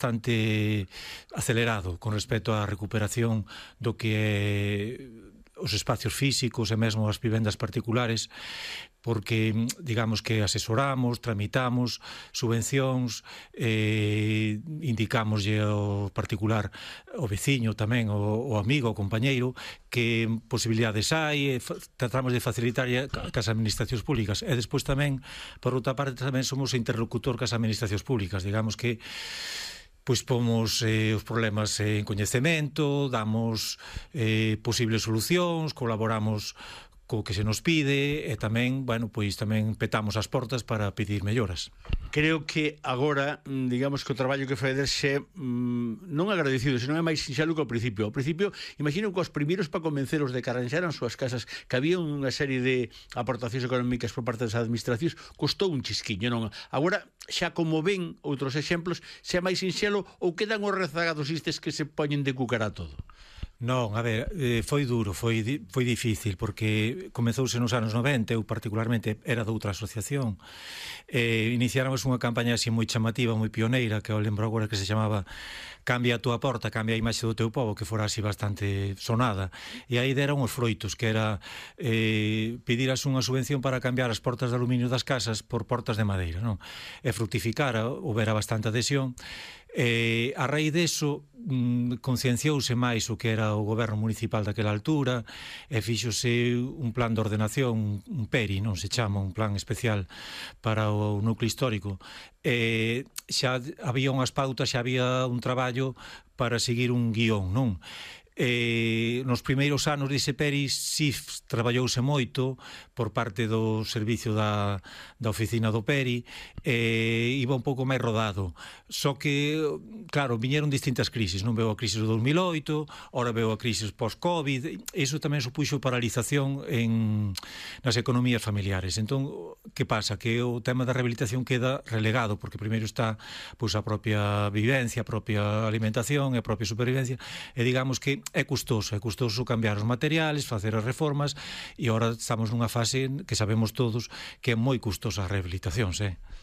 bastante acelerado con respecto á recuperación do que é os espacios físicos e mesmo as vivendas particulares, porque digamos que asesoramos, tramitamos subvencións, indicámoslle ao particular, ao veciño tamén, ao amigo, ao compañeiro, que posibilidades hai, tratamos de facilitar cas administracións públicas. E despois tamén, por outra parte, tamén somos interlocutor cas administracións públicas, digamos que pois pomos os problemas en coñecemento, damos posibles solucións, colaboramos co que se nos pide e tamén, bueno, pois tamén petamos as portas para pedir melloras. Creo que agora, digamos que o traballo que faedes é non agradecido, senón é máis sinxelo que ao principio. Ao principio, imagino que os primeiros para convenceros de que arranxaran súas casas, que había unha serie de aportacións económicas por parte das administracións, costou un chisquiño, non? Agora, xa como ven outros exemplos, xa é máis sinxelo ou quedan os rezagados estes que se poñen de cucara todo? Non, a ver, foi duro, foi difícil, porque comezouse nos anos 90, eu particularmente era de outra asociación, iniciáramos unha campaña así moi chamativa, moi pioneira, que eu lembro agora que se chamaba Cambia a túa porta, cambia a imaxe do teu pobo, que fora así bastante sonada, e aí deron os froitos, que era pediras unha subvención para cambiar as portas de aluminio das casas por portas de madeira, non? E fructificara, houbera bastante adhesión. A raíz deso concienciouse máis o que era o goberno municipal daquela altura e fíxose un plan de ordenación, un PERI, non se chama, un plan especial para o núcleo histórico. Xa había unhas pautas, xa había un traballo para seguir un guión, non? Nos primeiros anos dese PERI si traballouse moito por parte do servicio da oficina do PERI, iba un pouco máis rodado, só que claro, viñeron distintas crisis, non veo a crisis do 2008, ora veo a crisis post-Covid, iso tamén supuxo paralización nas economías familiares. Entón, que pasa? Que o tema da rehabilitación queda relegado, porque primeiro está pois a propia vivencia, a propia alimentación e a propia supervivencia, e digamos que é custoso cambiar os materiales, facer as reformas, e agora estamos nunha fase que sabemos todos que é moi custosa a rehabilitación,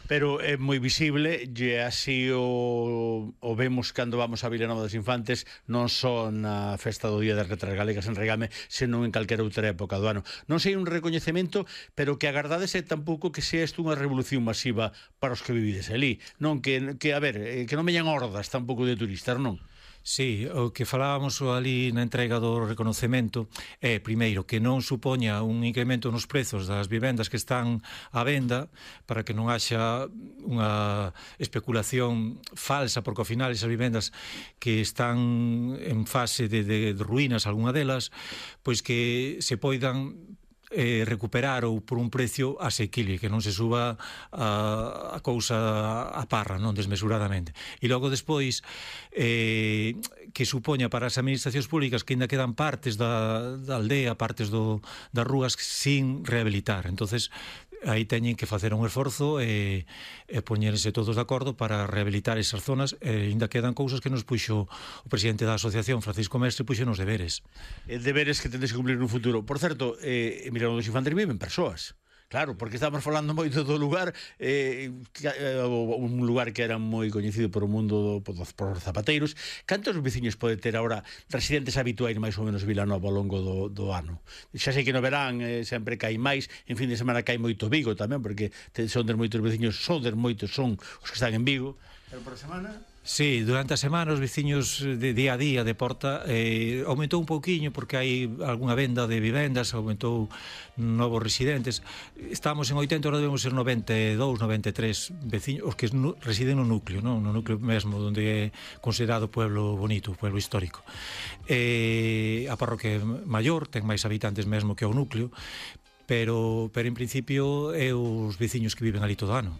Pero é moi visible, e así o vemos cando vamos a Vilanova dos Infantes, non só na festa do Día das Letras Galegas en Regame, senón en calquera outra época do ano. Non sei un recoñecemento, pero que agardades é tampouco que sea isto unha revolución masiva para os que vivides ali, non que a ver, que non veñan hordas tampouco de turistas, non? Sí, o que falábamos ali na entrega do reconocemento é, primeiro, que non supoña un incremento nos prezos das vivendas que están á venda, para que non haxa unha especulación falsa, porque ao final esas vivendas que están en fase de ruínas, algunha delas, pois que se poidan recuperar ou por un precio asequible, que non se suba a cousa a parra, non desmesuradamente. E logo despois que supoña para as administracións públicas que ainda quedan partes da aldea, partes das rúas sin rehabilitar. Entonces aí teñen que facer un esforzo e poñerse todos de acordo para rehabilitar esas zonas, e ainda quedan cousas que nos puxo o presidente da asociación, Francisco Mestre, puxo nos deberes. Deberes que tendes que cumplir no futuro. Por certo, Vilanova dos Infantes viven persoas. Claro, porque estamos falando moito do lugar, un lugar que era moi coñecido por o mundo por os zapateiros. Cantos veciños pode ter agora residentes habituais máis ou menos Vilanova ao longo do ano? Xa sei que no verán sempre cae máis, en fin de semana cae moito Vigo tamén, porque son moitos veciños, son os que están en Vigo, pero por a semana... Sí, durante a semana os veciños de día a día de Porta aumentou un pouquiño porque hai algunha venda de vivendas, aumentou novos residentes. Estamos en 80, ahora debemos ser 92, 93 veciños, os que residen no núcleo, non? No núcleo mesmo, onde é considerado pueblo bonito, pueblo histórico. A parroquia é maior, ten máis habitantes mesmo que o núcleo, pero en principio é os veciños que viven ali todo o ano.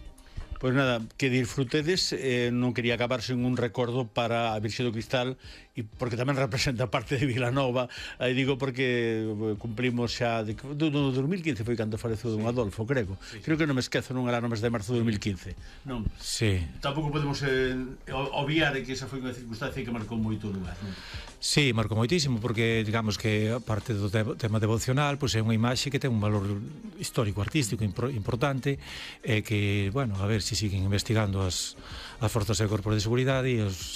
Pois nada, que disfrutedes, non quería acabar sen un recordo para a Virxe do Cristal, e porque tamén representa parte de Vilanova, aí digo porque cumplimos xa no 2015 foi cando faleceu don Adolfo, creo. Creo que non me esquezo, non era no mes de marzo de 2015. Non. Sí. Tampouco podemos obviar que esa foi unha circunstancia que marcou moito o lugar, non? Sí, marcou moitísimo, porque digamos que a parte do tema devocional, pois é unha imaxe que ten un valor histórico, artístico importante, e que, bueno, a ver se siguen investigando as forzas e corpos de seguridade e os